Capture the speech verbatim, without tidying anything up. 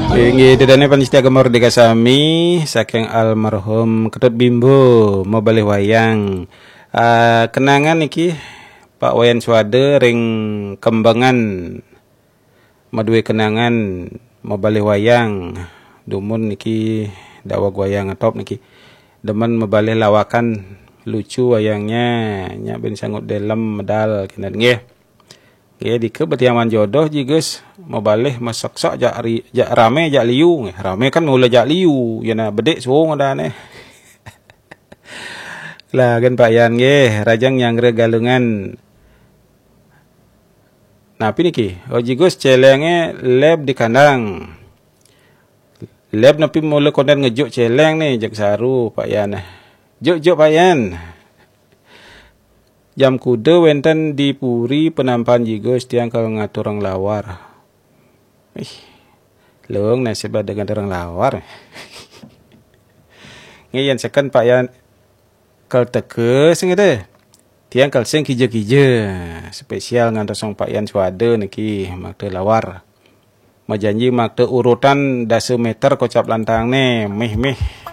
Inggih, ida dané pamiarsa Gema Merdeka sami, saking almarhum Ketut Bimbo, mabalih wayang. Ah, kenangan niki, Pak Wayan Suwada ring Kembengan, madué kenangan mabalih wayang. Dumun niki daweg wayang ngetop niki. Demen mabalih lawakan lucu wayangnya, nyak bin sangut delem medal, kénten nggih. Nggih, dika betiang wan jodoh, Ji Gus, mabalih maseksek jak ri-, jak ramé jak liu nggih. Ramé kan mula jak liu, ya nah bedik suung adané. Lah, kan Pak Yan nggih, rajang nyanggra Galungan. Napi niki? Oh, Ji Gus, céléngé leb di kandang. Leb napi mula kondén ngejuk céléng né, jeg saru Pak Yan. Juk, juk Pak Yan. Jam kuda wénten di puri Penampahan Ji Gus, tiang kal ngaturang lawar. Ih, luung nasib ada ngaturang lawar. Nggih, yén seken Pak Yan kal teka sing ada. Tiang kal sing kija-kija. Spesial ngantosang Pak Yan Suwada niki makta lawar. Majanji makta urutan dasa méter kocap lantangné, mih-mih.